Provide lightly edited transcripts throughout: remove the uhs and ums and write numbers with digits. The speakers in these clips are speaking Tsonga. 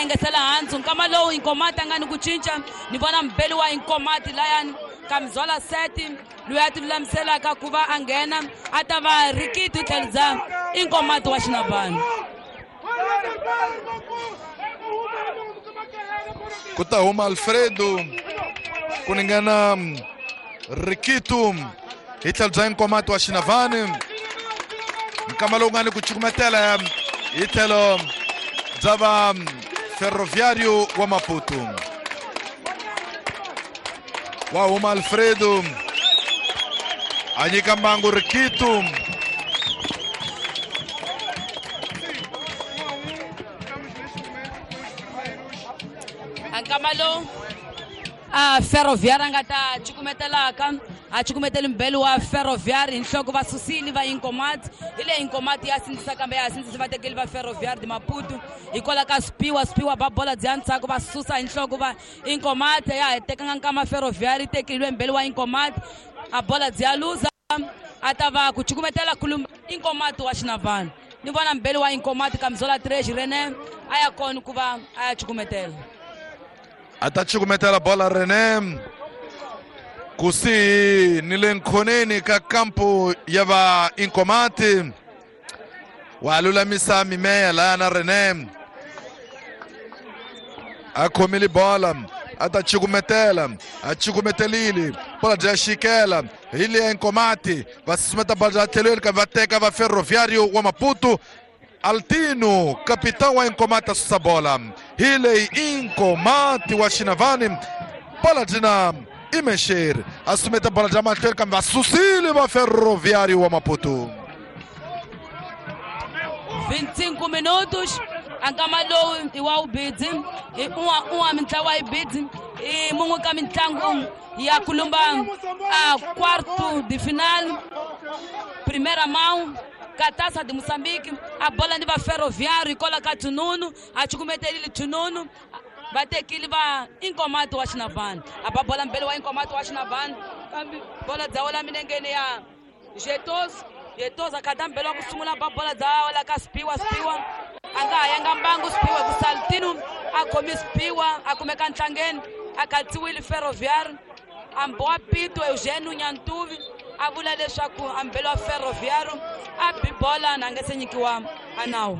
Engesela hansi nkama lowu Inkomati a nga ni ku cinca ni vona mbeli wa Inkomati layani Kamzola Seti loyi a ti lulamiselaka ku va a nghena a ta va Rikiti tlhelo bya Inkomati wa Xinavani. Ku ta huma Alfredo ku ningana Rikitu hi tlhelo bya Inkomati wa Xinavani. Nkama lowu nga ni ku cukumetela hi tlhelo bya va Ferroviário wa Maputo. Wa huma Alfredo a nyika mbangu Rikitu. Nkama lowu a Ferroviário a nga ta cukumetelaka a cukumeteli mbeli wa Ferroviário hi nhloko va susile va Inkomati. Hi leyi Inkomati ya sindzisa kambe ya sindzisa vatekeli va Ferroviário de Maputo hikwalaho ka Spiwa. Spiwa ba bola bya ndzhaku va susa hi nhloko va Inkomati ya ha tekanga nkama Ferroviário yi tekeriwe mbeli wa Inkomati a bola bya luza a ta va ku cukumetela kulumba Inkomati wa Xinavani. Ni vona mbeli wa Inkomati Kamzola 3 René a ya kona ku va a ya cukumetela. A ta cukumetela bola René kusihi ni le nkhoneni ka kampu ya va Inkomati. Wa lulamisa mimeya laya na René a khomile bola a ta cukumetela a cukumetelile bola bya xikela hi le Inkomati va susumeta bola bya tlhelweni kambe va teka va Ferroviário wa Maputo. Altino capitão wa Inkomati a susa bola hi leyi Inkomati wa Xinavani. Bola dyina Imexeri a sumeta bola bya mahlweni kambe va susile va Ferroviário wa Maputo. 25 minutos a nkama lowu i wa ubidzi i un'wa mintlawa yi bidzi i mun'we ka mitlangu ya kulumba a quarto de final primeira mão ka Taça de Moçambique. A bola ni va Ferroviário hikwalaho ka Tununu a cukumetelile Tununu va tekile va Inkomati wa Xinavani a ba bola mbeli wa Inkomati wa Xinavani kambe bola dza wela milengeni ya Jetos. Jetos a khata mbeli wa ku sungula ba bola dza wela ka Spiwa. Spiwa a nga ha yanga mbangu Spiwa ku Saltino a khomi Spiwa a kumeka ntlangeni a khatsiwile Ferroviário. A mbowa Pito Eugênio Nyantuvi a vula leswaku a mbeli wa Ferroviário a bi bola na nga se nyikiwa a nawu.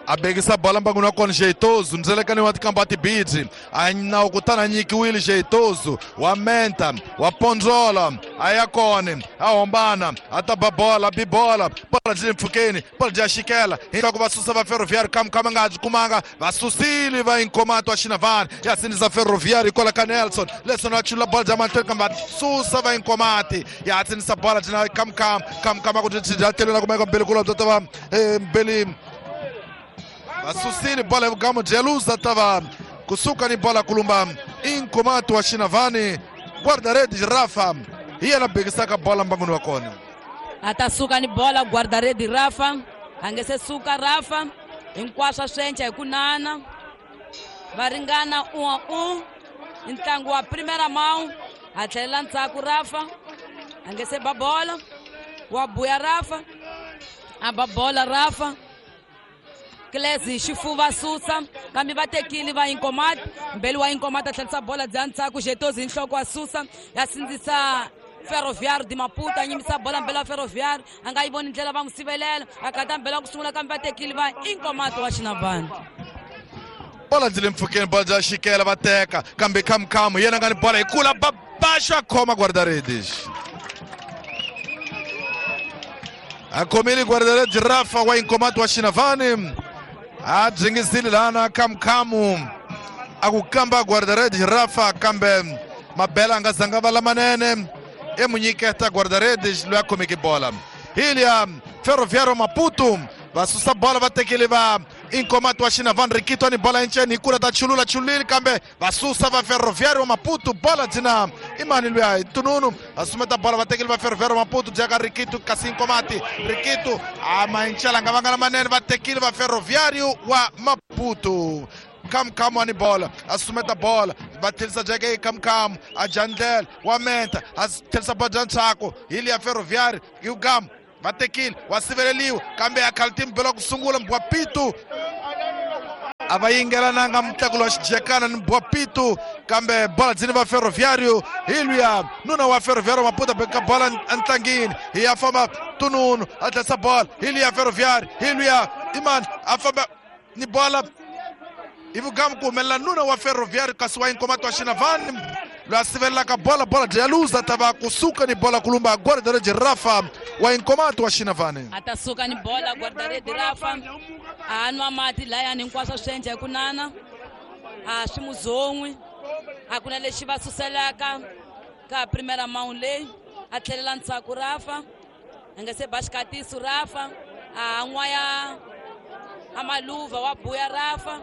A bekisa bola mbangwini wa kona Jeitoso ndzelekani wa tikamba tibidzi a nawu kutani a nyikiwile Jeitoso wa menta wa pondzola a ya kona a hombana a ta ba bola bi bola bola byi le mpfhukeni bola bya xikela hinkwako va susa va Ferroviário kamukama nga ha byi kumanga va susile va Inkomati wa Xinavani ya sindzisa Ferroviário hikwalaho ka Nelson. Nelson a chulula bola bya mahlweni kambe va susa va Inkomati ya sindzisa bola byi na kamukama kamukama ku byi tlhelweni kumeka mbeli kula bya ta va mbeli vasusile bola ya vugamu bya ta va kusuka ni bola kulumba Inkomati wa Xinavani. Guarda-redes Rafa hi yena bekisaka bola mbangwini wa kona. A ta suka ni bola guarda-redes Rafa a nge se suka Rafa hinkwaswo swi enca hi ku nana va ringana 1-1 i ntlangu wa primeira mão a tlhelela ndzhaku Rafa a nge se ba bola wa buya Rafa a ba bola Rafa Klezi xifuva susa kambe va tekile va Inkomati mbeli wa Inkomati a tlherisa bola bya ndzhaku Jetozi hi nhloko wa susa ya sindzisa Ferroviário de Maputo a nyimisa bola mbeli wa Ferroviário a nga yi voni ndlela va n'wi sivelela a kata mbeli wa ku sungula kambe va tekile va Inkomati wa Xinavani. Bola byi le mpfhukeni bola bya xikela va teka kambe khamukhamu yena nga ni bola hi kula babaxo a khoma guarda-redes a khomile guarda-redes Rafa wa Inkomati wa Xinavani a byingisile lana khamukhamu a ku kamba guarda-redes Rafa kambe mabela a nga zanga va lamanene e mu nyiketa guarda-redes loyi a khomeke bola. Hi liya Ferroviário Maputo va susa bola va tekile va Inkomati wa Xinavani Rikito ni bola enceni hi kula ta chulula chulile kambe va susa va Ferroviário Maputo bola dzina i mani luya hi Tununu va sumeta bola va tekile va Ferroviário Maputo bya ka Rikito kasi Inkomati Rikito a maincela nga vanga lamanene va tekile va Ferroviário wa Maputo. Kamukhamu wa ni bola a sumeta bola va tlherisa jeke kamukhamu a jandlela wa menta a tlherisa bola bya ntshaku hi liya Ferroviário yugamu va tekile wa siveleliwa kambe a khalti mbelo ku sungula wa Pito A va yingelananga mutlakulo wa xijekana ni Bwapitu, kambe bola dzini va Ferroviário. Hi luya nuna wa Ferroviário Maputo beka bola entlangini, hi ya famba Tununu a tlhesa bola, hi luya Ferroviário, hi luya Iman a famba ni bola hi vugamu ku humelela nuna wa Ferroviário, kasi wa Inkomati wa Xinavani loyi a sivelelaka bola, bola dya luza, ta va kusuka ni bola kulumba guarda-redes Rafa wa Inkomati wa Xinavani. A ta suka ni bola guarda-redes Rafa, a nwa mati layani hinkwaswo swi endla hi ku nana, a swi muzon'wi, a ku na lexi va suselaka ka primera mount leyi, a tlhelela ndzhaku Rafa, a nga se ba xikatiso Rafa, a n'waya a maluva wa buya Rafa,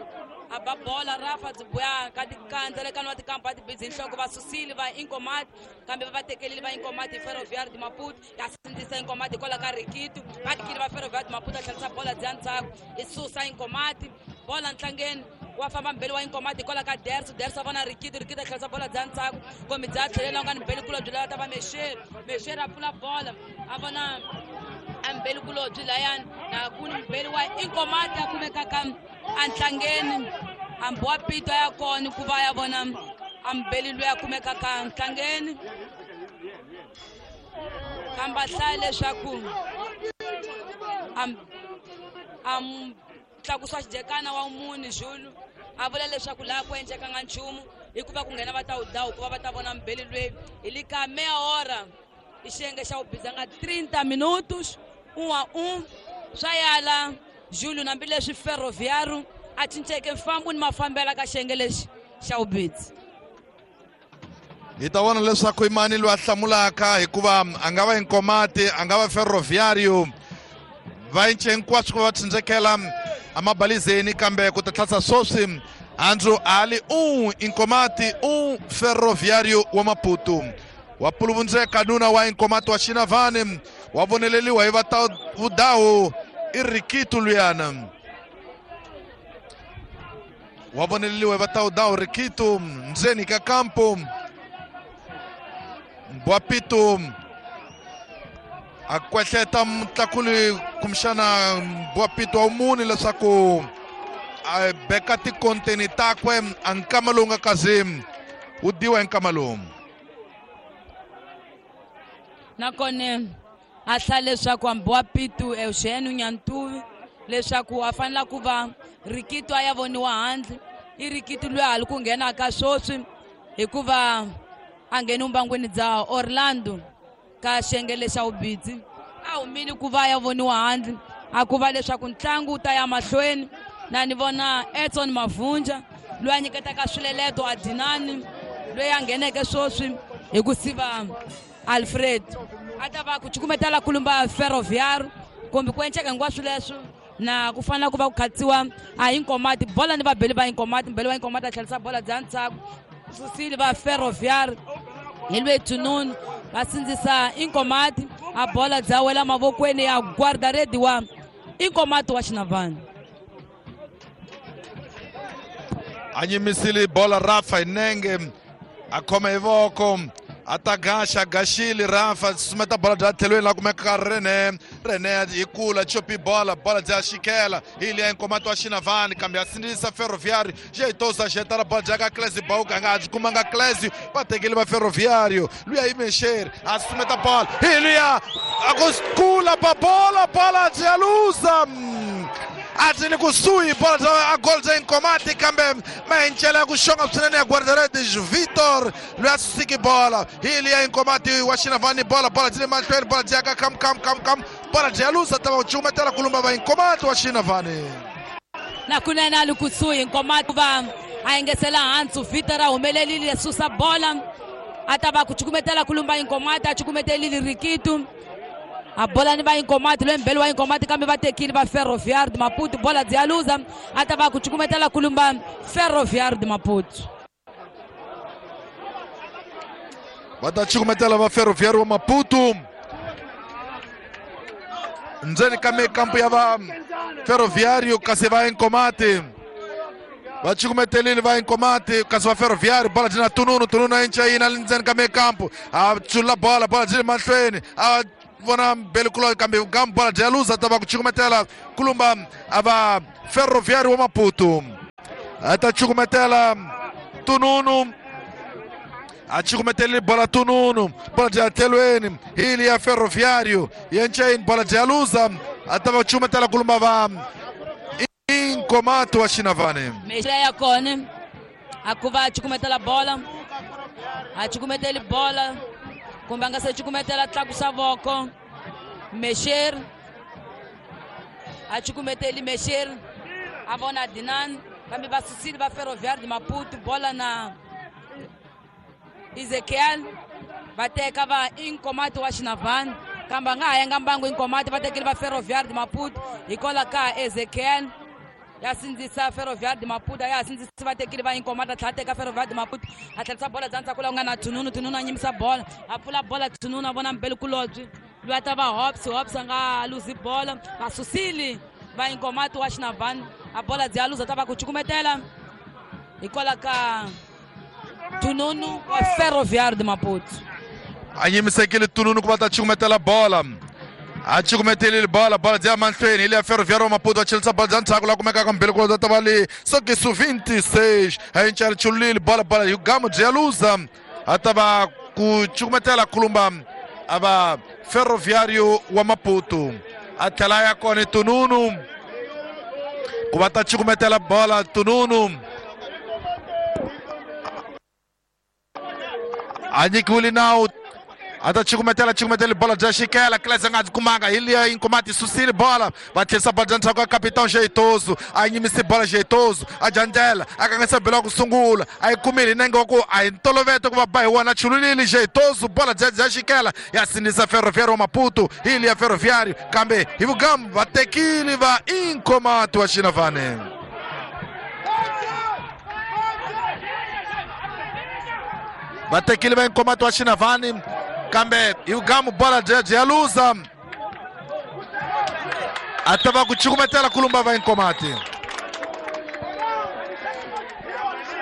a ba bola Rafa byi buya ka tikandzalekano wa tikampa a tibidzi nhloko, va susile va Inkomati, kambe va va tekelile va Inkomati hi Ferroviário de Maputo, ya sindzisa Inkomati hikwalaho ka Rikitu, va tikile va Ferroviário de Maputo, a tlherisa bola bya ndzhaku, i susa Inkomati bola ntlangeni, wa famba mbeli wa Inkomati hikwalaho ka Derso, Derso a vona Rikitu, Rikitu a tlherisa bola bya ndzhaku, kumbe bya tlhelela nga ni mbeli kulobye lava ta va Mexeri, Mexeri a pfula bola a vona a mbeli kulobye layani, na ku ni mbeli wa Inkomati a kumekaka antlangeni, hambi wa Pito ya kona ku va ya vona ambeli loyi a kumekaka ntlangeni, kambe a hlaya leswaku a tlakusiwa xijekana wa muni Zulu, a vula leswaku laha ku endlekanga nchumu hikuva ku nghena va ta wu dawu ku va va ta vona mbeli loyi hi le ka meia hora i xiyenge xa wu bizanga 30 minutos 1-1 swa yala Zulu, hambileswi Ferroviário a cinceke mfambo ni mafambela ka xiyenge lexi xa vubidzi. Hi ta vona leswaku i mani loyi a hlamulaka, hikuva a nga va Inkomati, a nga va Ferroviário, va cince hinkwaswo ku va va tsindzekela amabalizeni, kambe ku ta tlhasa sweswi handzu ali 1 Inkomati 1 Ferroviário wa Maputo. Wa puluvundzeka nuna wa Inkomati wa Xinavani, wa voneleliwa hi va ta vudawu i Rikitu luyana, wa voneleliwa hi va ta vudawu Rikitu ndzeni ka kampo. Bwapitu a kwehleta mutlakuli kumbexana Bwapitu wa muni leswaku a beka tikonteni takwe, a nkama lowu nga kazi wu diwa hi nkama lowu. Nakona a hlaya leswaku hambi wa Pitu Eugene Nyantuvi leswaku a fanela ku va Rikitu a ya voniwa handle, i Rikitu loyi a ha li ku nghenaka sweswi hikuva a ngheni vumbangwini bya Orlando ka xiyenge lexa vubidzi, a humile ku va ya voniwa handle, a ku va leswaku ntlangu wu ta ya mahlweni. Na ni vona Edson Mavunja loyi a nyiketaka swileleto a Dinani loyi a ngheneke sweswi hi ku siva Alfred, a ta va ku cukumetela kulumba Ferroviário kumbe ku enceka hinkwaswo leswo, na ku fanela ku va ku khatsiwa a Inkomati bola ni vabeli va Inkomati, mbeli wa Inkomati a tlherisa bola bya ndzhaku, susile va Ferroviário hi lwe Tununu va sindzisa Inkomati, a bola bya wela mavokweni ya guarda-rede wa Inkomati wa Xinavani. A nyimisile bola Rafa hi nenge, a khoma hi voko, a ta gaxa, gaxile Rafa, sumeta bola bya tlhelweni la kumeka Rene, Rene hi kula chopi bola, bola bya xikela hi liya Inkomati wa Xinavani, kambe a sindzisa Ferroviário, Jeitosa xetala bola bya ka Clesi Bauka, nga ha byi kumanga Clesi, va tekile va Ferroviário, luya i Mexeri, a sumeta bola hi liya a ku kula pa bola, bola bya luza, a byi le kusuhi bola bya a goal bya Inkomati, kambe mahencela ya ku xonga swinene ya guarda-redes Vitor loyi a susiki bola hi liya Inkomati wa Xinavani, bola bola byi le mahlweni, bola byi ya ka kam kam kam kam, bola byi ya luza, ta va ku cukumetela kulumba va Inkomati wa Xinavani. Na kunene a li kusuhi Inkomati va a engesela hansi, Vitor a humelelile susa bola, a ta va ku cukumetela kulumba Inkomati, a cukumetelile Rikitu, a bola ni va Inkomati loyi mbeli wa Inkomati, kambe va tekile va Ferroviário de Maputo, bola byi ya luza, a ta va ku cukumetela kulumba Ferroviário de Maputo. Va ta cukumetela va Ferroviário wa Maputo ndzeni ka mikampu ya va Ferroviário, kasi va Inkomati va cukumetelile va Inkomati, kasi va Ferroviário bola byi na Tununu, Tununu a incayina ndzeni ka mikampu, a tsula bola, bola byi le mahlweni, a vona mbeli kulo, kambe gamu bola bya luza, ta va ku cukumetela kulumba a va Ferroviário wa Maputo. A ta cukumetela Tununu. A cukumetele bola Tununu. Bola de tlhelweni hi ya Ferroviário. Yenchain bola de aluza. A ta va cukumetela kulumba va Inkomato wa Xinavane. Mexela ya kona a ku va cukumetela bola. A cukumeteli bola kumbe a nga se cukumetela tlakusa voko. Mexer a cukumeteli Mexer a vona Dinan kambe va susile va Ferroviário de Maputo bola na Ezekiel va teka va Inkomato wa Xinavane kambe a nga ha yanga mbangu Inkomato va tekile va Ferroviário de Maputo hikwalaho ka Ezekiel ya sindzisa Ferroviário de Maputo ya sindzisa va tekile va Inkomato a tlhela teka Ferroviário de Maputo a tlherisa bola bya ndzhaku laha ku nga na Tununu. Tununu a nyimisa bola a pfula bola Tununu a vona mbele kulobye loyi a ta va Hobbs. Hobbs a nga luzi bola va susile va Inkomato wa Xinavane a bola byi ya luza ta va ku cukumetela hikwalaho ka Tununu wa Ferroviário de Maputo. A nyimisekile Tununu ku va ta cukumetela bola. A cukumetelile bola, bola bya mahlweni hi ya Ferroviário Maputo a chelisa bola bya ndzhaku laha kumekaka mbele ku ta va le sokisu 26 a yi chulile bola, bola hi gamu byi ya luza a ta va ku cukumetela kulumba a va Ferroviário wa Maputo. A tlhela ya kona Tununu ku va ta cukumetela bola Tununu a nyikiwile nawu a ta cukumetela cukumetela bola bya xikela Klese nga byi kumanga hi liya Inkomati susile bola va tlherisa bola bya ndzhaku ka Capitão Jeitoso a yimise bola Jeitoso a jandlela a kanganyisa belo wa ku sungula a yi kumile hi nenge wa ku a hi ntolovete ku va ba hi wona chululile Jeitoso bola bya xikela ya sindzisa Ferroviário wa Maputo hi liya Ferroviário kambe hi vugamu va tekile va Inkomati wa Xinavane. Va tekile va Inkomato wa Xinavane kambe hi vugamu bola bya ya luza a ta va ku cukumetela kulumba va Inkomati.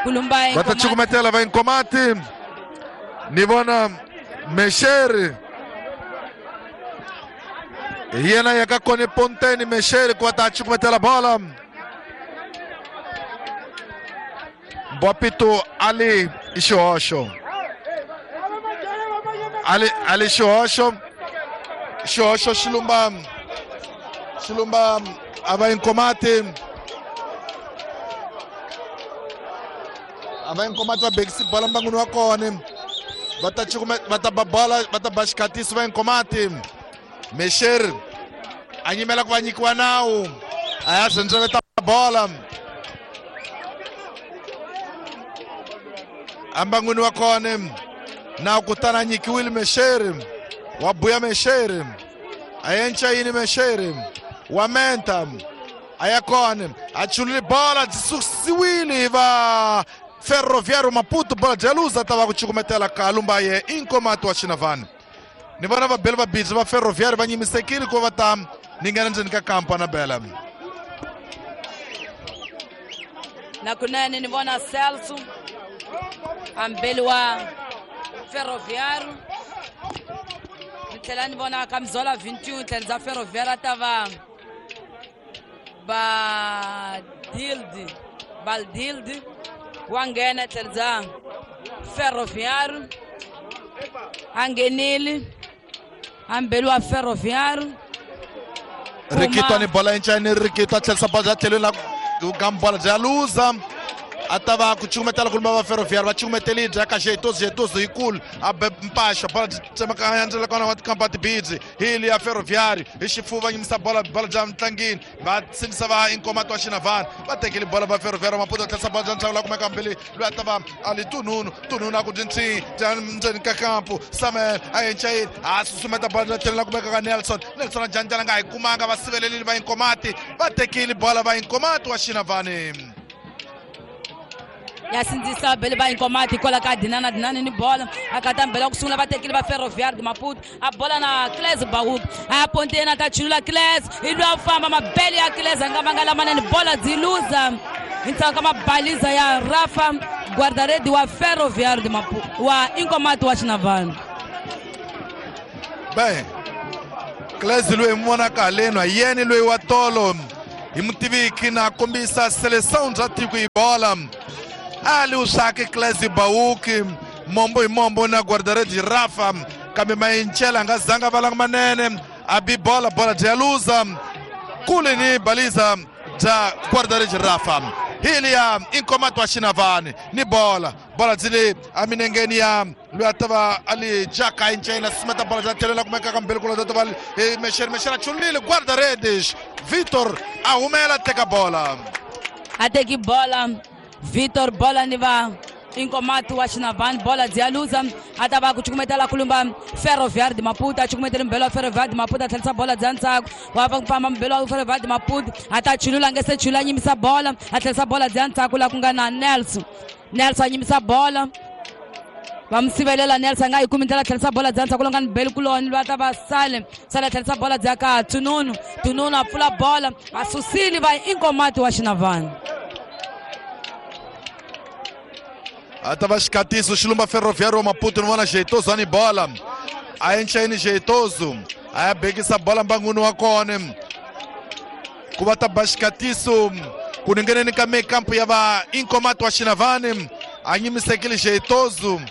Kulumba va ta cukumetela va Inkomati. Ni vona Mexeri hi yena ya ka kona Ponteni Mexeri ku va ta cukumetela bola. Mbwapito ali xihoxo. Ali xihoxo. Xihoxo xilumba xilumba a va Inkomati. A va Inkomati va bekisi bola mbangwini wa kona. Va ta va ta ba bola va ta ba xikhatisi va Inkomati. Mexer a nyimela ku va nyikiwa nawu a ya sendzeleta bola ambangwini wa kona na kutana nyikiwile Mexeri wa buya Mexeri a yenca yini Mexeri wa menta a ya kona a chulile bola byi susiwile va Ferroviário Maputo bola bya luza ta va ku cukumetela kalumba ye Inkomato wa Xinavane. Ni vona vabeli va bidzi va Ferroviário va nyimisekile ku va ta ni nghena ndzeni ka kampa na bela. Na kunene ni vona Celso ambeli wa Ferroviário ni tlhela ni vona Kamzola 21 tlhela bya Ferroviário ta va Baldildi wa nghena tlhela bya Ferroviário a nghenile ambeli wa Ferroviário. Rikito ni bola yinchani Rikito a tlherisa bola bya tlhelweni la gambola bya luza a ta va ku cukumetela kulumba va Ferroviário va cukumetelile bya ka Jeitoso. Jeitoso yikulu a be mpaxo bola tsemakanya ndlela kona wa tikampa tibidzi hi liya Ferroviário hi xifuva nyimisa bola bola bya ntlangini va sindzisa va Inkomato wa Xinavane va tekile bola va Ferroviário Maputo tlherisa bola bya ntlhangu la kumeka mbili loyi a ta va ali Tununu. Tununu a ku dyintsi bya ndzeni ka kampu Samuel a yenchayini a susumeta bola bya tlhelo la kumeka ka Nelson. Nelson a janjala nga hi kumanga va sivelelile va Inkomati va tekile bola va Inkomato wa Xinavane. Ya sindzisa bele va Inkomati hikwalaho ka Dinana. Dinana ni bola a kata mbela ku sungula va tekile va Ferroviário de Maputo a bola na Klese Bauka a ya ponteni a ta chulula Klese hi loyi a famba mabele ya Klese a nga vanga lamanene bola byi luza hi ndzhaku ka mabaliza ya Rafa guardaredi wa Ferroviário de Maputo wa Inkomati wa Xinavane. Be Klese loyi mi vonaka haleni hi yena loyi wa tolo Hi mutiviki na kombisa seleção bya tiko hi bola ali usake Clésio Bauki mombo hi mombo na guarda-redes Rafa kambe Mayincela a nga zanga valanga manene a bi bola bola bya luza kule ni baliza bya guarda-redes Rafa hili ya Inkomato wa Xinavani ni bola bola byi a minengeni ya loyi a ta va a li jaka incena simeta bola bya tlhelela kumeka ka mbele kula ta va Mexer Mexer a chulile guarda-redes Vitor a humela teka bola a teki bola Vitor bola ni va Inkomato wa Xinavani bola bya luza a ta va ku cukumetela kulumba Ferroviário de Maputo a cukumetela mbelo wa Ferroviário de Maputo a tlherisa bola bya ndzhaku wa va famba mbelo wa Ferroviário de Maputo a ta chulula nge se chula a nyimisa bola a tlherisa bola bya ndzhaku laha ku nga na Nelson Nelson a nyimisa bola va mi sivelela Nelson a nga yi kumi ndlela tlherisa bola bya ndzhaku lowu nga ni beli kuloni loyi a ta va sale sale a tlherisa bola bya ka Tununu Tununu a pfula bola va susile va Inkomato wa Xinavani a ta va xikatiso xilumba Ferroviário wa Maputo ni vona Jeitoso ani bola a encheni Jeitoso a ya bekisa bola mbanguni wa kona ku va ta ba xikatiso ku ningeneni ka mekampo ya va Inkomato wa Xinavani a nyimisekile Jeitoso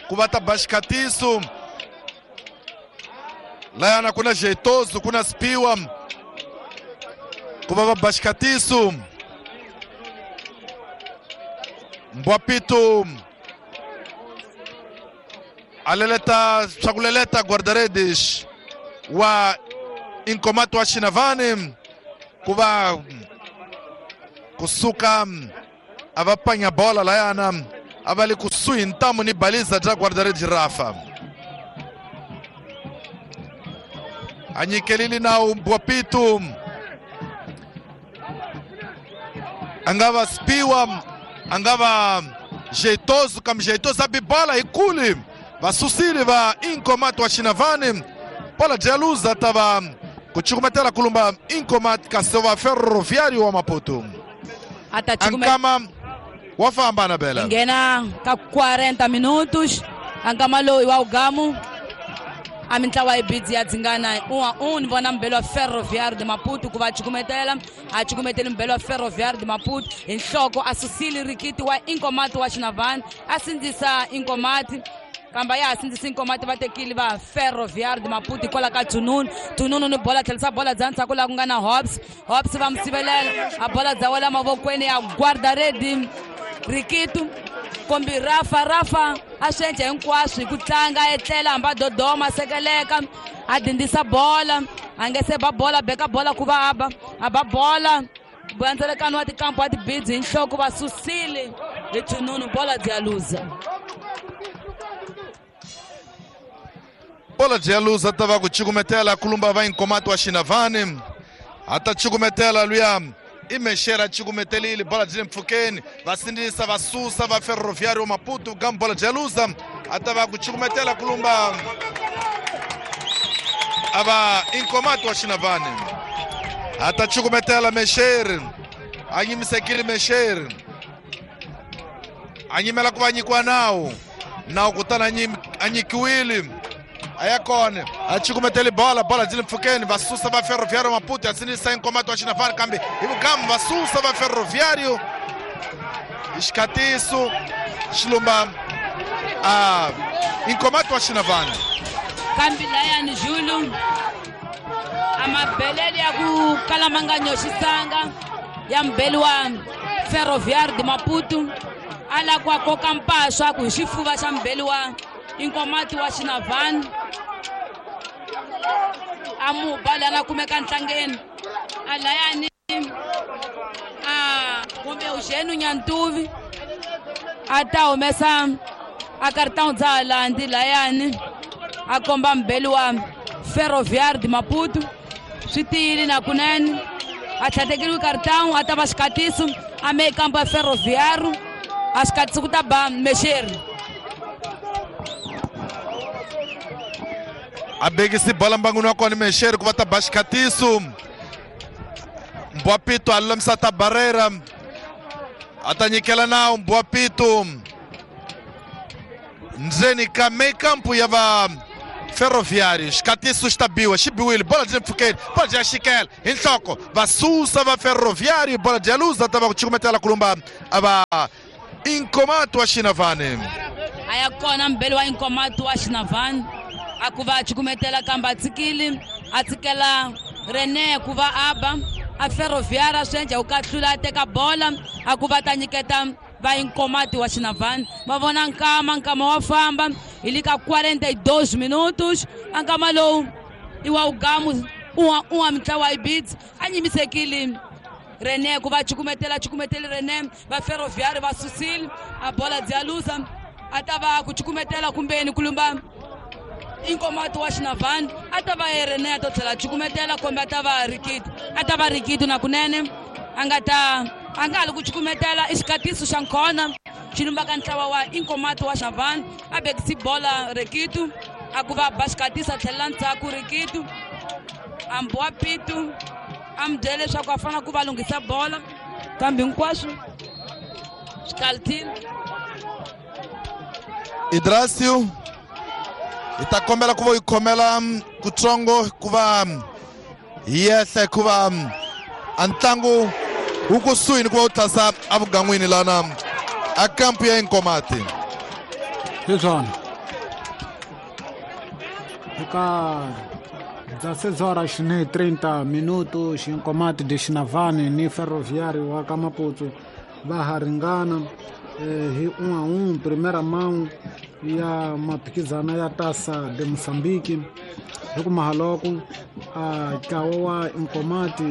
ku va ta ba xikatiso layana ku na Jeitoso ku na Spiwa ku va va ba xikatiso Mbwapito a leleta swa ku leleta guarda-redes wa Inkomato wa Xinavani ku va kusuka a va panya bola layana a va le kusuhi ntamu ni baliza bya guarda-redes Rafa a nyikelile nawu Mbwapito a nga va Spiwa a nga va Jeitoso kambe Jeitoso a bi bola hi kule va susile va Inkomato wa Xinavani bola bya luza ta va ku cukumetela kulumba Inkomato kasi va Ferroviário wa Maputo a ta ankama wa famba na bela nghena ka 40 minutos ankama loyi wa ugamu a mintlawa yi bidzi ya dzingana un'wa un ni vona mbelo wa Ferroviário de Maputo ku va cukumetela a cukumeteli mbelo wa Ferroviário de Maputo hi nhloko a susile rikiti wa Inkomato wa Xinavani a sindzisa Inkomati kambe a ya ha sindzisa Inkomati va tekile va Ferroviário de Maputo hikwalaho ka Tununu Tununu ni bola tlherisa bola bya ndzhaku laha ku nga na Hobbs Hobbs va mi sivelela a bola bya wela mavokweni ya guarda-redes Rikitu kombi Rafa Rafa a swi endla hinkwaswo hi ku tlanga a etlela hambi a dodoma a sekeleka a dindisa bola a nge se ba bola beka bola ku va a ba a ba bola vandzelekano wa tikampo wa tibidzi hi nhloko va susile hi Tununu bola bya luza bola bya luza ta va ku cukumetela kulumba va Inkomato wa Xinavani a ta cukumetela luya i Mexer a cukumetelile bola byi le mpfhukeni va sindzisa va susa va Ferroviário wa Maputo kambe bola bya luza a ta va ku cukumetela kulumba a va Inkomato wa Xinavani a ta cukumetela Mexer a nyimisekile Mexer a nyimela ku va nyikiwa nawu nawu kutani a nyikiwile a ya kona a cukumeteli bola bola byi le mpfhukeni va susa va Ferroviário Maputo ya sindzisa Inkomato wa Xinavani kambe hi vugamu va susa va Ferroviário hi xikatiso xilumba a Inkomato wa Xinavani kambe layani Julu a mabelele ya ku kala ma nga nyoxisanga ya mbeli wa Ferroviário de Maputo a lava ku a koka mpaswa ku hi xifuva xa mbeli wa Inkomato wa Xinavani a mu ba lana kumeka ntlangeni a layani a kumbe Eugênio Nyantuvi a ta humesa a cartão dza landi layani a komba mbeli wa Ferroviário de Maputo swi tiyile na kunene a tlhatekeriwe cartão a ta va xikatiso a me kampo ya Ferroviário a xikatiso ku ta ba Mexeri a bekisi bola mbanguni wa kona Mexeri ku va ta ba xikatiso Mbwapito a lulamisa ta Barreira a ta nyikela nawu Mbwapito ndzeni ka mekampo ya va Ferroviário xikatiso xi ta biwa xi biwile bola byi le mpfhukeni bola byi ya xikela hi nhloko va susa va Ferroviário bola byi ya luza ta va ku cukumetela kulumba a va Inkomato wa Xinavane a ya kona mbeli wa Inkomato wa Xinavane a ku va cukumetela kambe a tshikile a tshikela Rene ku va aba a Ferroviário swi endla ku kahlula a teka bola a ku va ta nyiketa va Inkomati wa Xinavane va vona nkama wa famba hi le ka 42 minutos a nkama lowu i wa ugamu un'wa mintlawa yi bids a nyimisekile Rene ku va cukumetela Rene va Ferroviário va susile a bola bya luza a ta va ku cukumetela kumbeni kulumba Inkomato wa Xinavane a ta va Rene a to tlhela cukumetela kumbe a ta va Rikiti a ta va Rikiti na kunene a nga ta a nga ha li ku cukumetela i xikatiso xa nkhona xi lumbaka ntlawa wa Inkomato wa Xinavane a bekisi bola Rikitu a ku va ba xikatiso a tlhelela ndzhaku Rikitu a mbiwa pitu a mi byela leswaku a fanele ku va lunghisa bola kambe hinkwaswo swi kalithile. Idrasio hi ta kombela ku va yi khomela kutsongo ku va hi yehla hikuva a ntlangu wu kusuhi ni ku va wu tlhasa evugan'wini lana a kampu ya Inkomati. Hi swona eka 16 horas ni 30 minutos Inkomati de Xinavane ni Ferroviário wa ka Maputo va ha ringana hi 1-1 primeira mão ya maphikizana ya Taça de Moçambique hi ku mahaloko a ntlawa wa Inkomati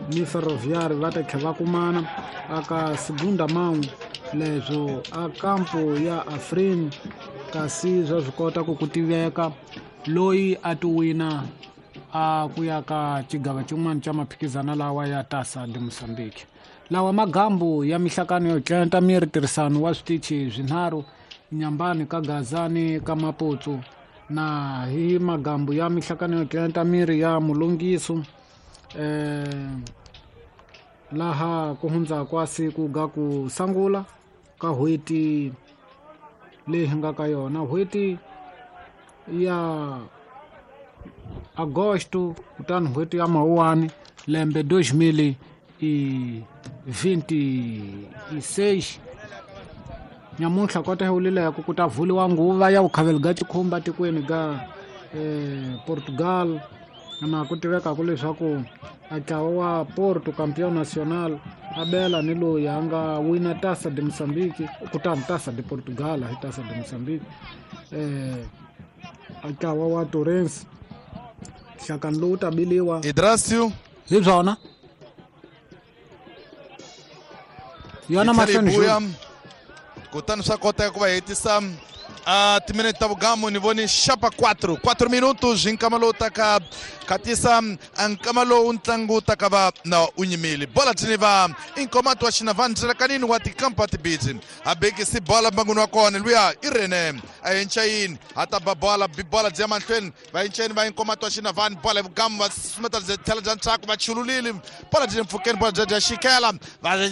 ni Ferroviário va ta tlhela va kumana aka segunda mão leswo a kampo ya Afrin kasi swa swi kota ku ku tiveka loyi a ti wina a ku ya ka xigava xin'wana xa maphikizana lawa ya Taça de Moçambique. Lawa magambu ya mihlakano yo tlenta miri tirhisano wa switichi swinharhu Nyambani ka Gazani ka Maputo na hi magambu ya mihlakano yo tlenta miri ya Mulungiso laha ku hundza kwa siku ga ku sangula ka hweti leyi hi nga ka yona hweti ya Agosto kutani hweti ya Mawuwani lembe 2026 nyamuntlha kota hi ku ta vuliwa nguva ya vukhaveli ga xikhumba tikweni ga Portugal na ku tivekaku leswaku a ntlawa wa Porto Campeão Nacional a bela ni loyi a nga wina Taça de Moçambique kutani Taça de Portugal hi Taça de Moçambique a ntlawa wa Torrens nhlakani lowu ta biliwa Idrasio hi byona yona mahlweni kutani swa koteka ku va hetisa a timinete ta vugamu ni voni xapa 4 minutos hi nkama lowu taka khatisa a nkama lowu ntlangu wu taka va na u nyimile bola thini va Inkomato wa Xinavane ndlelakanini wa tikampa tibidzi a bekisi bola mbanguni wa kona luya i Rene a yenchayini a ta ba bola bola byi ya mahlweni va yenchayini va Inkomato wa Xinavane bola vugamu va sumeta byi tlhela bya ntshaku va chululile bola byi le mpfhukeni bola bya dya xikela va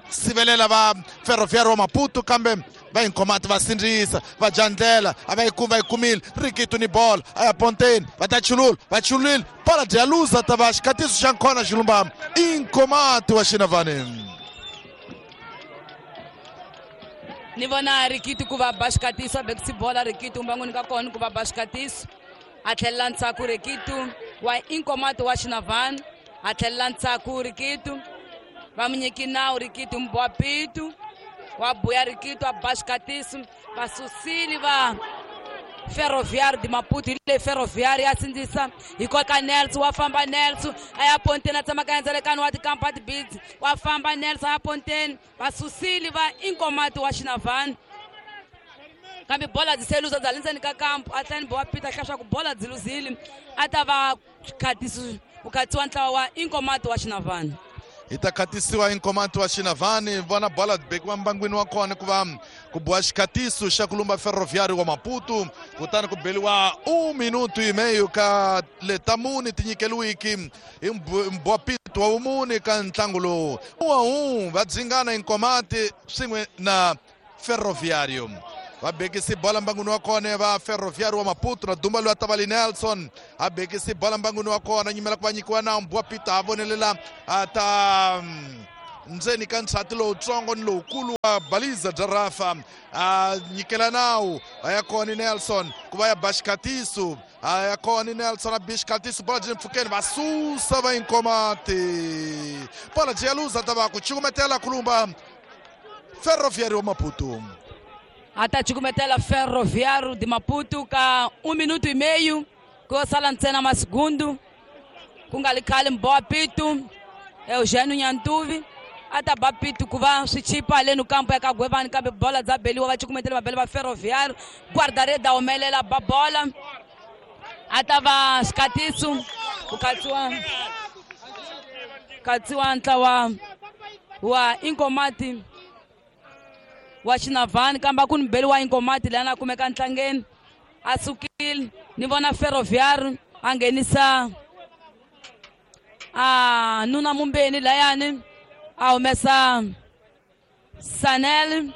sivelela va Ferroviário wa Maputo kambe va Inkomati va sindzisa va dya ndlela a va yi kumi va yi kumile Rikitu ni bola a ya ponteni va ta chulula va chululile bola dya luza ta va xikatiso xa nkhona xilumba Inkomati wa Xinavane. Ni vona Rikitu ku va ba xikatiso a bekisi bola Rikitu mbangwini ka kona ku va ba xikatiso a tlhelela ndzhaku Rikitu wa Inkomati wa Xinavane a tlhelela ndzhaku Rikitu va mu nyiki nawu Rikitu mbowa pitu wa buya Rikitu a ba xikatiso va susile va Ferroviário de Maputo hi le Ferroviário ya sindzisa hi koka Nelson wa famba Nelson a ya ponteni a tsamaka endzelekani wa tikampa tibidzi wa famba Nelson a ya ponteni va susile va Inkomati wa Xinavane kambe bola byi se luza bya le ndzeni ka kampu a tlhela ni bowa Peter hlaya ku bola byi luzile a ta va khatiso ku khatsiwa ntlawa wa Inkomati wa Xinavane. Hi ta khatisiwa Inkomati wa Xinavane vona bola bekiwa mbangwini wa kona ku va ku boha xikhatiso xa ku lumba Ferroviário wa Maputo kutani ku beliwa 1 minuto e meio ka letamuni ti nyikeliwiki hi mbowa Pito wa vumune ka ntlangu lowu 1-1 va dzingana Inkomati swin'we na Ferroviário. Va bekisi bola mbanguni wa kona va Ferroviário wa Maputo na Dumba loyi a ta va li Nelson a bekisi bola mbanguni wa kona nyimela ku va nyikiwa na Mbwa Peter a vonelela a ta ndzeni ka nchati lowutsongo ni lowukulu wa baliza bya Rafa a nyikela nawu a ya kona Nelson ku va ya ba xikhatiso a ya kona Nelson a bi xikhatiso bola byi le mpfhukeni va susa va Inkomati bola byi ya luza ta va ku cukumetela kulumba Ferroviário wa Maputo. A ta cukumetela Ferroviário de Maputo ka 1 minuto e meio ku sala ntsena masigundu ku nga li khale Mbowa Pitu Eugênio Nyantuvi a ta ba Pitu ku va swi chipa haleni kampo ya ka Gwevani kambe bola dza beliwa va cukumetela vabeli va Ferroviário guarda-rede a humelela ba bola a ta va xikatiso ku katsiwa ntlawa wa Inkomati wa Xinavani kambe a ku ni beli wa Inkomati leyi a na kumeka ntlangeni a sukile ni vona Ferroviário a nghenisa a nuna Mumbeni layani a humesa Sanel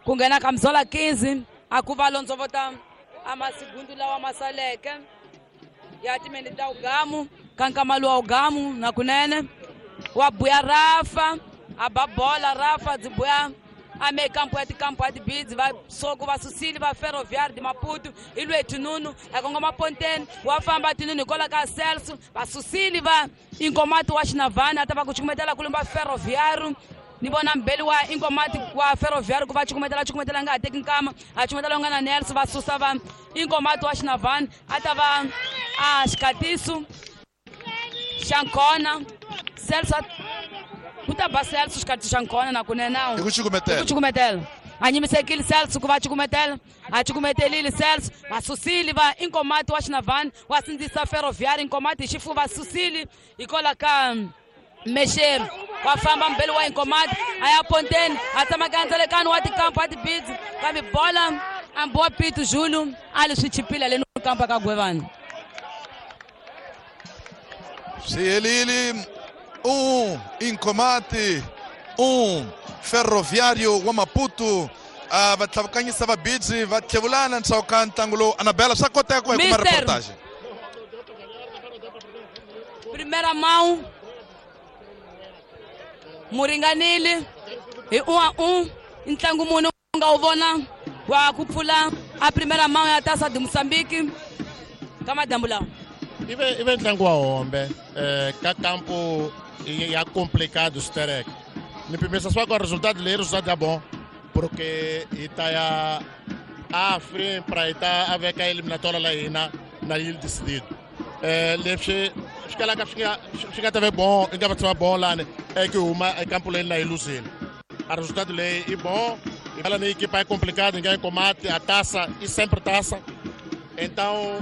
ku nghena ka Mzola 15 a ku va londzovota a masigundu lawa ma saleke ya timeni ta ugamu ka nkama luwa ugamu na kunene wa buya Rafa a ba bola Rafa dzi buya a me kampo ya tikampo ya tibidzi va soko va susile va Ferroviário de Maputo i lwe tinunu a kongoma ponteni wa famba tinunu hikwalaho ka Celso va susile va Inkomati wa Xinavani a ta va ku cukumetela kulumba Ferroviário ni vona mbeli wa Inkomati wa Ferroviário ku va cukumetela nga ha teki nkama a cukumetela nga na Nelson va susa va Inkomati wa Xinavani a ta va a xikatiso xa nkona Celso ku ta ba Celso xikatiso xa nkona na kunene hi ku cukumetela hi ku cukumetela a nyimisekile Celso ku va cukumetela a cukumetelile Celso va susile va Inkomati wa Xinavani wa sindzisa Ferroviário Inkomati hi xifuva susile hikwalaho ka Mexeri wa famba mbeli wa Inkomati a ya ponteni a tsamaka ndzelekani wa tikampo a tibidzi kambe bola a Mbowa Pitu Julu a li swi chipile haleni kampo ka Gwevani swi helile 1 Inkomati 1 Ferroviário wa Maputo va tlhavukanyisa va bidzi va tlhevulana ntshawu ka ntlangu lowu Anabela swa koteka ku va hi kuma reportage primeira mão muringanile hi 1-1 ntlangu mune u nga wu vona wa ku pfula a primeira mão ya Taça de Moçambique ka madyambu lawa ive ntlangu wa hombe ka kampo ya complicado sterek ni pimisa swa ku resultado leyi resultado ya bon porque hi ta ya a free pra hi ta a veka eliminatória la hina na yi decidido leswi swi kalaka swi nga ta ve bon i nga va tshama bon lani ku huma ekampo leyi na yi luzile a resultado leyi i bon ela ni equipa é complicada ninguém combate a taça e sempre taça então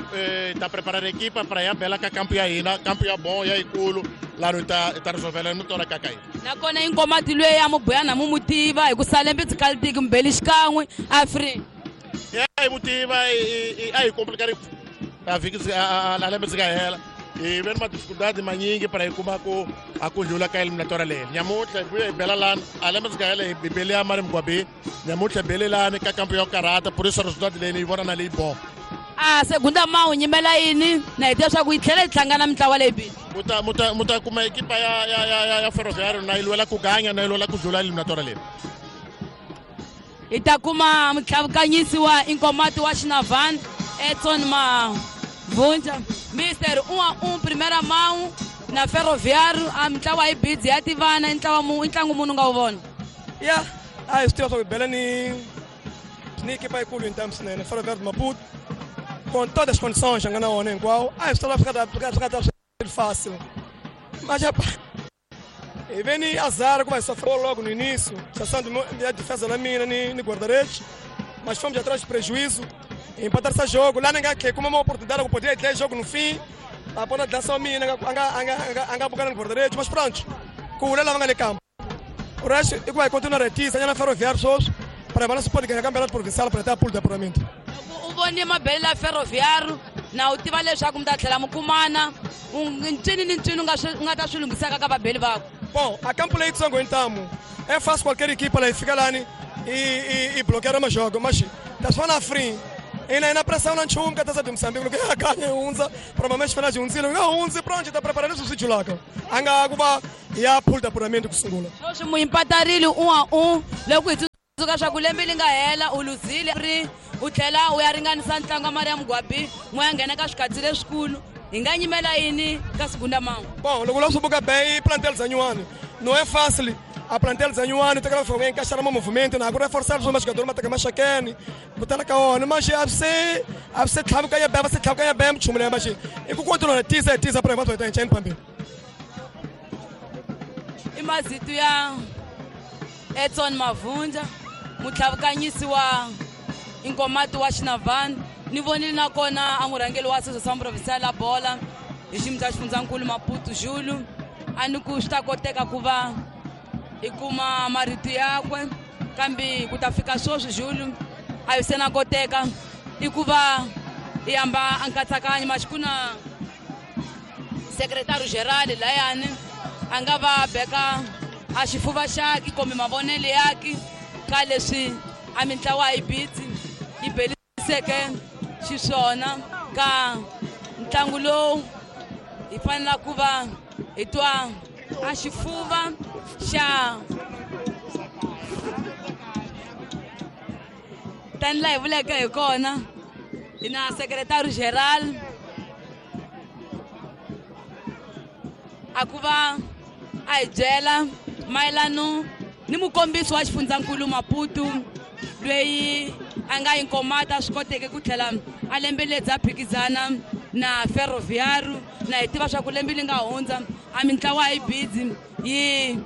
está preparando a equipa para ir a bela ka campo ya hina campo ya bom ya ikulu lá no tá resolvendo no tora ka kai nakona Inkomati lwe ya mubuyana mu mutiva hi ku salembe tsikaltiki mbeli xikan'we a free ya hi mutiva a hi complicado a vhiki a lembe tsika hela hi ve ni madificuldade manyingi para hi kuma ku a ku ndlula ka eliminatória leyi nyamuntlha hi vuya hi bela lani a lembe tsika hela hi bele ya mari mugwabi nyamuntlha hi bele lani ka kampo ya karata por isso resultado leyi ni yi vona na leyi bon a segunda mão nyimela yini na hi tiva swa ku yi tlhela yi hlangana mintlawa leyi bili muta kuma ekipa ya Ferroviário na yi lwela ku ganya na yi lwela ku dlula eliminatória leyi hi ta kuma mutlhavukanyisi wa Inkomati wa Xinavani Edson Mavunja Mister 1-1 primeira mão na Ferroviário a mintlawa yi bidzi ya tivana i ntlangu munhu nga wu vona ya a hi swi tiva swa ku hi bela ni ekipa yikulu hi ntamu swinene Ferroviário de Maputo com todas as condições nga na wona hinkwawo a hi swi swi nga ta swi fácil mas hi ve ni azar ku va hi sofreu logo no início situação de defesa na mina ni guarda-redes mas fomos atrás de prejuízo empatar esse jogo lá ninguém que como uma oportunidade que podia ter jogo no fim a ponta de lança mina anga bocana no guarda-redes mas pronto com o Lela vanga no campo o resto é que vai continuar aqui na Ferroviário pessoas para a se pode ganhar campeonato provincial para ter a pool de apuramento u vone mabele la Ferroviário na u tiva leswaku mi ta tlhela mi kumana ncini ni ncini u nga ta swi lunghisaka ka vabeli vako bom a campo leyi tsongo hi ntamu é fácil qualquer equipa lá fica lá e bloquear o jogo mas Ta swi free. Ina ina pressão na nchumu ka Taça de Moçambique, loko ya kanya yi hundza, provavelmente fana byi hundzile, nga hundzi pronto ta prepara leswi swi julaka. A nga ku va ya pool d'apuramento ku sungula. Sweswi muyimpatarile 1-1 loko hi tsundzuka swa ku lembe li nga hela u luzile ri u tlhela u ya ringanisa ntlangu wa Mariam Gwabi n'we ya nghena ka swikatsi leswikulu. Hi nga nyimela yini ka segunda mão? Bom, loko la swi buka bei plantel za nyuwani. Não é fácil. A plantel za nyuwani tekela fo encaixar mo movimento na agora reforçar os jogadores mataka machakeni. Botela ka ona mas abse abse tlhabuka ya beba se tlhabuka ya bem chumule mas e ku controla tisa tisa para enquanto tá enchendo pambi. Imazitu ya Edson Mavunja mutlhavukanyisi wa Inkomati wa Xinavani ni vonile nakona a murhangeri wa Associação Provincial la Bola hi xiyimo xa xifundzankulu Maputo Julu a ni ku swi ta koteka ku va hi kuma marito yakwe kambe ku ta fika sweswi Julu a yi se na koteka i ku va hi hamba a nkatsakanyo maxi na secretario geral layani a nga va beka a xifuva xaki kumbe mavonelo yaki ka leswi a mintlawa yi bitsi yi beliseke xiswona ka ntlangu lowu hi fanela ku va hi twa a xifuva xa tani laha hi vuleke hi kona hi na secretario geral a ku va a hi byela mayelano ni mukombisi wa xifundzankulu Maputo loyi a nga Inkomati swi koteke ku tlhela a lembeledza a phikizana na Ferroviário na hi tiva swa ku lembe li nga hundza a mintlawa yi bidzi yi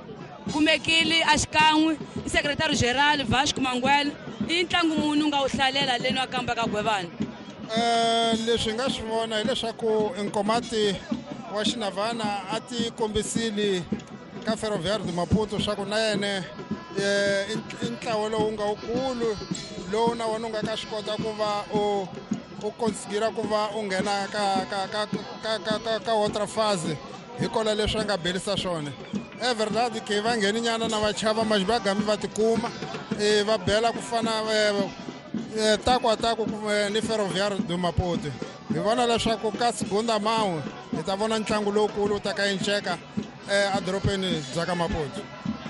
kumekile a xikan'we i secretario geral Vasco Manguel i ntlangu muni u nga wu hlalela leni wa kamba ka Gwevani? Leswi hi nga swi vona hileswaku Inkomati wa Xinavana a ti kombisile ka Ferroviário de Maputo swa ku na yena i ntlawa lowu nga wukulu lowu na wona u nga ka swi kota ku va u konsigira ku va u nghena ka ka ka ka ka ka ka outra fase hikola leswi a nga belisa swona. É verdade que va ngheni nyana na vachava mas va gami va tikuma va bela ku fana taku a taku ni Ferroviário de Maputo. Hi vona leswaku ka segunda mão hi ta vona ntlangu lowukulu wu ta ka inceka edorobeni bya ka Maputo.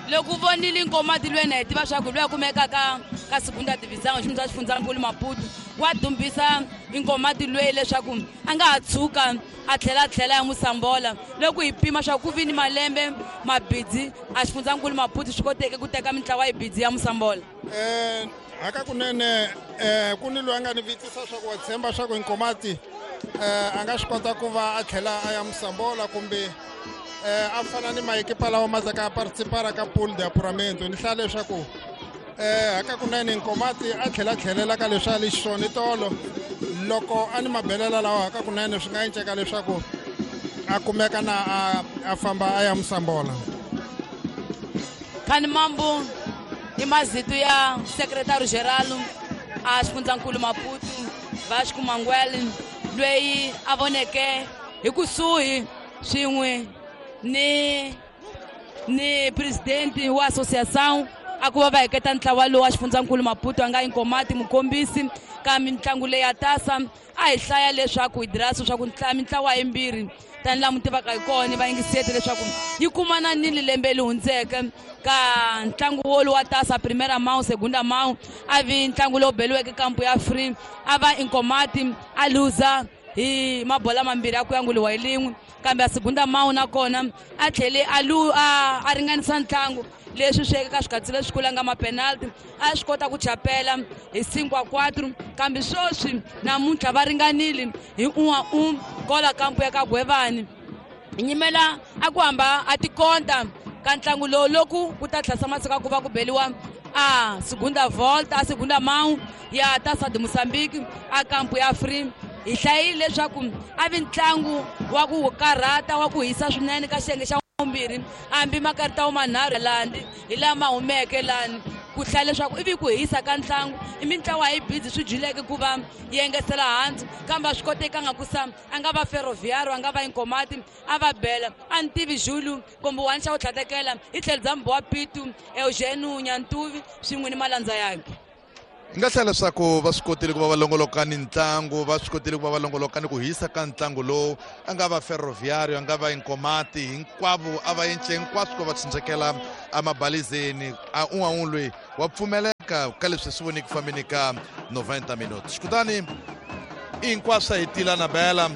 Loko u vonile Inkomati lwena hi tiva swa ku loyi a kumekaka ka segunda divisão xiyimo xa xifundzankulu Maputo wa dumbisa Inkomati lweyi leswaku a nga ha tshuka a tlhela ya Musambola loko hi pima swa ku vi ni malembe mabidzi a xifundzankulu Maputo swi koteke ku teka mintlawa yi bidzi ya Musambola. Hakakunene ku ni loyi a nga ni vitisa swa ku wa tshemba swa ku Inkomati a nga swi kota ku va a tlhela a ya Musambola kumbe a fana ni maekipa lawa ma taka participara ka pool de apuramento. Ni hlaya leswaku hakakunene Inkomati a tlhela tlhelela ka leswi a li xiswona tolo loko a ni mabelela lawa hakakunene swi nga enceka leswaku a kumeka na a famba a ya Musambola. Khani Mambo i mazitu ya secretario geral a xifundzankulu Maputo Vasco Manguel loyi a voneke hi kusuhi swin'we ni presidente wa associação a ku va va heketa ntlawa lowu wa xifundzankulu Maputo a nga Inkomati mukombisi ka mitlangu leyi ya tasa a hi hlaya leswaku hi dirasa swa ku mintlawa yimbirhi tani laha mu tivaka hi kona va yingiseti leswaku yi kumana nini lembe leri hundzeke ka ntlangu wolowu wa tasa primera mão segunda mão a vi ntlangu lowu beliweke kampu ya free a va Inkomati a luza hi mabola mambirhi a ku yanguliwa hi lin'we kambe a segunda mão nakona a tlhele a ringanisa ntlangu leswi swi ka swikatsi leswikulu nga mapenalty a swi kota ku chapela hi 5-4 kambe sweswi namuntlha va ringanile hi 1-1 kola kampu ya ka Gwevani nyimela a ku hamba a tikonta ka ntlangu lowu loku ku ta tlhasa masiku ku va ku beliwa a segunda volta a segunda mão ya Taça de Moçambique a kampu ya free. Hi hlayile leswaku a vi ntlangu wa ku karhata wa ku hisa swinene ka xiyenge xa vumbirhi hambi makarita manharhu landi hi lama humeke lani ku hlaya leswaku ivi ku hisa ka ntlangu i mintlawa yi bidzi swi dyileke ku va yi engetela hansi kambe a swi kotekanga ku sa a nga va Ferroviário a nga va Inkomati a va bela a ni tivi Julu kumbe wani xa ku tlhatekela i tlhelo bya Mbowa Pitu Eugênio Nyantuvi swin'we ni malandza yakhe. Hi nga hlaya leswaku va swi kotile ku va va longoloka ni ntlangu, va swi kotile ku va va longoloka ni ku hisa ka ntlangu lowu. A nga va Ferroviario, a nga va Inkomati, hinkwavo a va yence hinkwaswo ku va tshunxekela emabalizeni. A un'wana un'we loyi wa pfumeleka ka leswi swi voniki fambeni ka 90 minutes. Kutani hinkwaswo hi tila na bela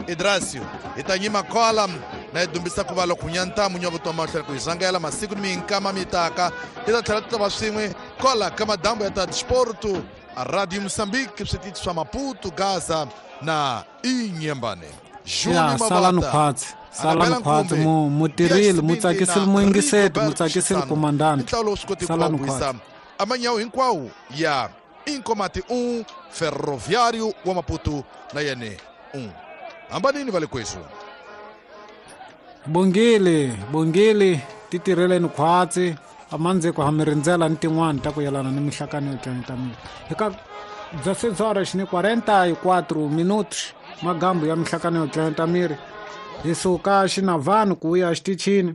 Idrasio hi ta nyima kola na hi dumbisa ku va loko nyantamu nya vutomi mahlweni ku hi zangela masiku ni minkama mi taka hi ta tlhela ti ta va swin'we kola ka madambu ya ta disporto a Radio Mozambique, switichi swa Maputo, Gaza na Inhambane. Ya salani khwatsi, salani khwatsi, mu tirhile, mu tsakisile muyingiseti, mu tsakisile komandante. Ntlawa lowu swi koti ku va Salani wisa khwatsi. amanyawu hinkwawo ya Inkomati 1, Ferroviário wa Maputo na yene 1. Hambanini va le kwesu. Bongile, bongile, ti tirheleni khwatsi, amandziko ha mi rindzela ni tin'wani ta ku yelana ni mihlakano yo tlangeta miri. Hi ka 16 horas ni 44 minutos, magambu ya mihlakano yo tlangeta miri. Hi suka Xinavani ku ya xitichini,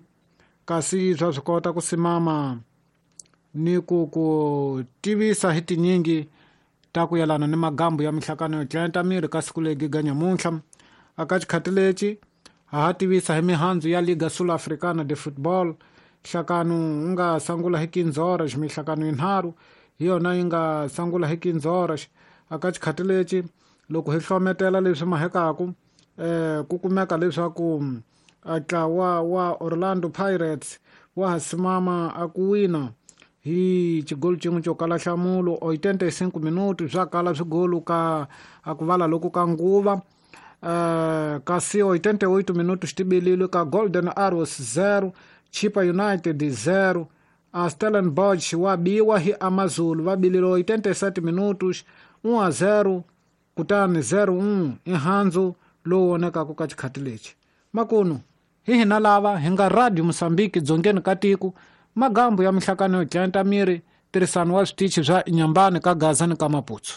kasi swa swi kota ku simama ni ku ku tivisa hi tinyingi ta ku yelana ni magambu ya mihlakano yo tlangeta miri ka siku leri ga nyamuntlha. Aka xikhati lexi ha ha tivisa hi mihandzu ya Liga Sul Africana de Football. Nhlakano wu nga sungula hi 15 horas, mihlakano yinharhu hi yona yi nga sungula hi 15 horas. Aka xikhati lexi loko hi hlometela leswi mahekaku, ku kumeka leswaku ntlawa wa Orlando Pirates wa ha simama a ku wina hi xigolo xin'we xo kala nhlamulo 85 minutos swa kala swigolo ka a ku vala loko ka nguva. Kasi 88 minutos tibilile ka Golden Arrows 0, Chippa United 0. A Stellenbosch wa biwa hi Amazulu va bilile 87 minutos 1-0, kutani 0-1 i handzu lowu vonekaka ka xikhati lexi. Makunu hi hina lava hi nga Radio Mozambique dzongeni ka tiko, magambu ya mihlakano yo tlangeta miri, tirhisano wa switichi swa Inhambane ka Gaza ni ka Maputo.